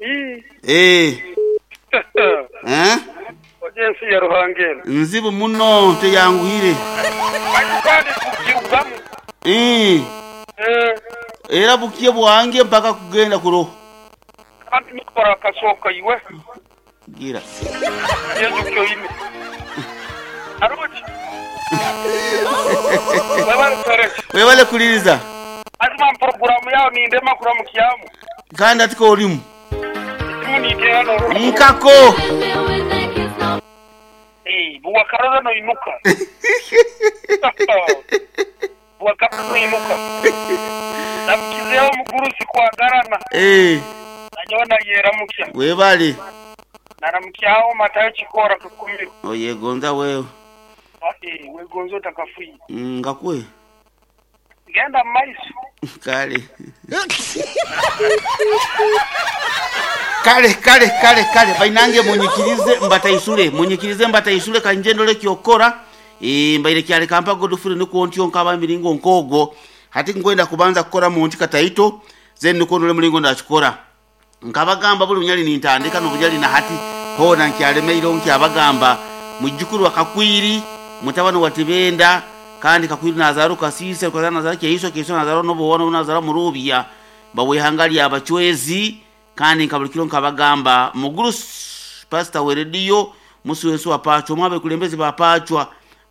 Eh. Eh? Oje ensi ya Ruhanga eno. Nzibu muno teyanguhire. Baitu kandi kugirugamu. Eh. Eh. Era bukiye bwange mpaka kugenda kuroho. Kandi nikora akasooka iwe. Gira. Yezu kyoine. Aruki. Webale kuhereza. Webale kuliriza. Azima programu yao nindema kuramukiamu. Kandi atiko olimu. Esimu niteera n'oruhu. Nkako. Eh, buwakarora noinuka. Buwakarora noinuka. Namukizeho omugurusi kwagarana. Eh. Nanyowe nayeramukya. Webale. Naramukyaho Matayo Kikora kakumiro. Oyegonza wewe. Eh, wegonza otakafuye. Ngakwe. Genda mu maiso. Kale. Kale kale kale kale bainange munyikirize mbataisule munyikirize mbataisule kanje ndole kyokora e, mbaire kyale kampa Godfrey niko ntyo nkaba miringo nkogo hati ngwenda kubanza kukora mu nti kataito then niko ndole mulingo ndakikora nkabagamba buli bunyali nintandika n'obunyali na hati hona nkyalemeire nkyabagamba mujjukuru wa Kakwiri mutabani wa Tibenda kandi Kakwiri nazaru Kasise kwa nazaru Keiso Keiso nazaru nobuwono nazaru Murubya bawehanga abachwezi kandi nkabulikiro nkabagamba muguru pastor we radio musi wensi wa pachwa mwabe kulembezi ba pachwa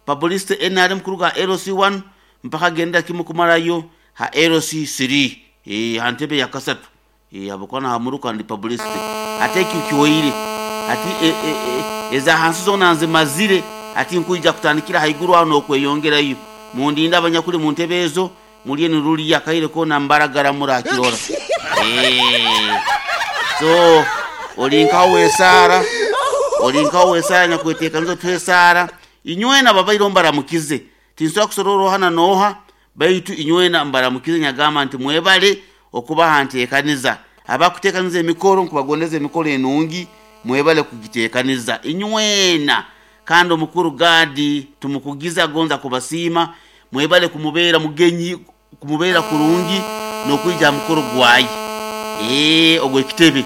publicity NRM kuruga LC1 mpaka genda kimu kumalayo ha LC3 eh hantebe ya kasatu eh abokona hamuruka ndi publicity ate kiyoire ati eza hansi zona nzimazire ati nkuija kutandikira haiguru aho nokweyongerayo mundinda abanyakuli mu ntebe ezo mulye niruli akaire kona mbaragara murakirora so olinkawo wesara olinkawo wesara nyakwetekaniza twesara inywena babaire mbaramukize tinsobola kusorora ohana noha baitu inywena mbaramukize nyagamba nti mwebale okubaha nteekaniza abakuteekaniza emikoro nkubagondeza emikoro enungi mwebale kugiteekaniza inywena kandi omukuru gadi tumukugiza gonza kubasiima mwebale kumubeera mugenyi kumubeera kurungi n'okwija mukoro gwayi ogwo ekitebe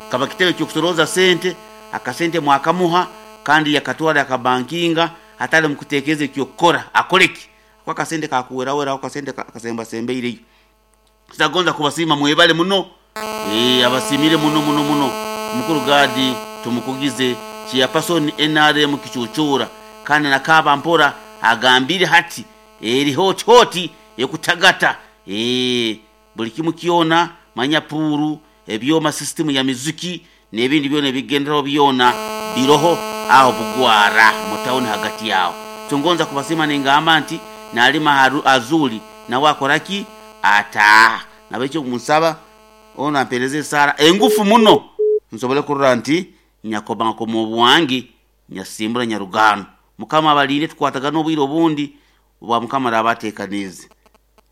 kaba kitebe kyokusoroza sente akasente mwakamuha kandi yakatwara akabankinga atali mukutekereza ekyokukora akoleki ako akasente kakuweraweraho akasente kasembasembeireyo kitagonza kubasiima mwebale muno abasimire muno muno muno mukuru gadi tumukugize chairperson NRM kichuchura kandi nakaba mpora agambire hati eri hoti hoti ekutagata buli kimu kyona manya puru ebyoma system ya miziki n'ebindi byona ebigenderaho byona biroho aho bugwara mu town hagati yawo tungonza kubasima ningamba nti nalima azuli nawe akoraki ata nabekyo musaba ono ampereze esara engufu muno nsobole kurora nti nyakoba nkoma obwangi nyasimbura nyarugano mukama abalinde tukwatagana obwire obundi bwa mukama arabateekanize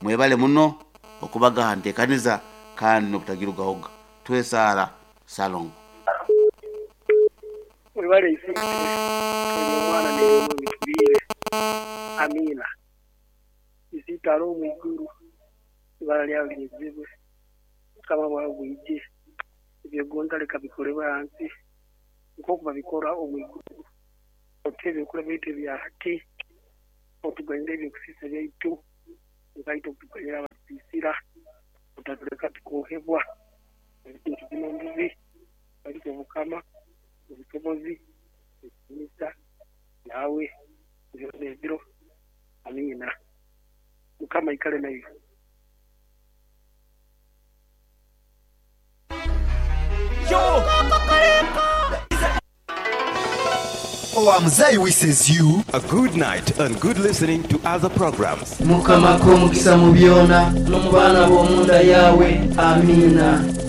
mwebale muno okubagaha nteekaniza kandi n'obutagirugahoga twesara salongo webale isi omwana nebitubire amina isitalo omwiguru ibara lyawe lyezibwe mukama bwawe bwije ebyogonza leka bikolebwe hansi nk'oku babikora omwiguru otuhe ebyokurya byaitu ebya hati otuganyire ebyokusiisa byaitu nkaitwe okutuganyira abatusiisira otatuleka tukohebwa ebintu bino mbuzi ariko obukama obusobozi ekitinisa nawe byona ebiro amiina mukama ikale naiwe. Mzee wishes you a good night and good listening to other programs. Mukama ko omukisa mu byona n'omu baana b'omunda yawe. Amiina.